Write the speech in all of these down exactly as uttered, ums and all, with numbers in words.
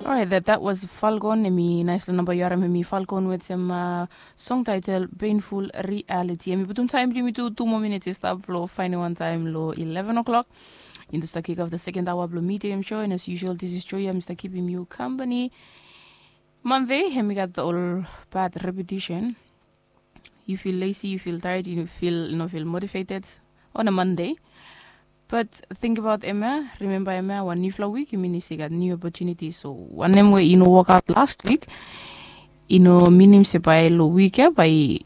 Alright, that, that was Falcon. Em i nais long namba yu harim em i Falcon wetem uh, song title Painful Reality. Em i putum taem blong yumi tu tu moa minits i stap long faenem wan taem long eleven o'clock. Into start kick off the second hour blong medium show, and as usual, this is Joya, Mr. Keeping You Company. Monday, em i gat ol bad repetition. You feel lazy, you feel tired, you feel no feel motivated on a Monday. But think about em ya, remember em ya, wan niufala wik i minim se i gat niu opportunity. So wanem we i no work out last week, i no minim se bae long wik ya bae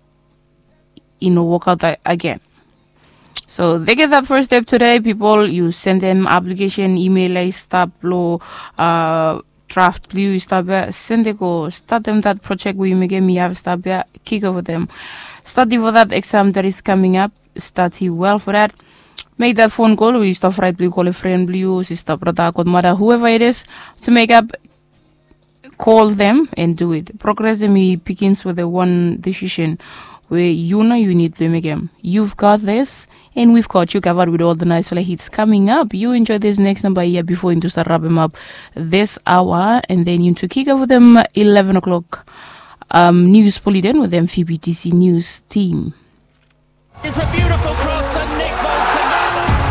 i no work out again. So they get that first step today, people. You send them application, email ya i stap long uh, draft blong yu i stap ya, sende go, statem that project we yu mekem i have stap ya, kick over them. Study for that exam that is coming up. Study well for that. Make that phone call we yu stap right blong yu call a friend blong yu, sister, brother, godmother, whoever it is, to make up. Call them and do it. Progress em i begins with a one decision we yu nao yu need blong mekem. You've got this, and we've got you covered with all the nice hits coming up. You enjoy this next number here before into start wrap em up this hour, and then into kick off with them eleven o'clock um, news bulletin with them V B T C news team. It's a beautiful cross and Nick Bolton.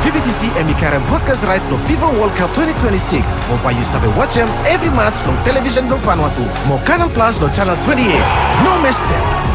V B T C em i karem broadcast right blong FIFA World Cup twenty twenty-six. Mo bae yu save watch em every match long television blong Vanuatu. Mo Canal Plus long channel twenty-eight. No miss them.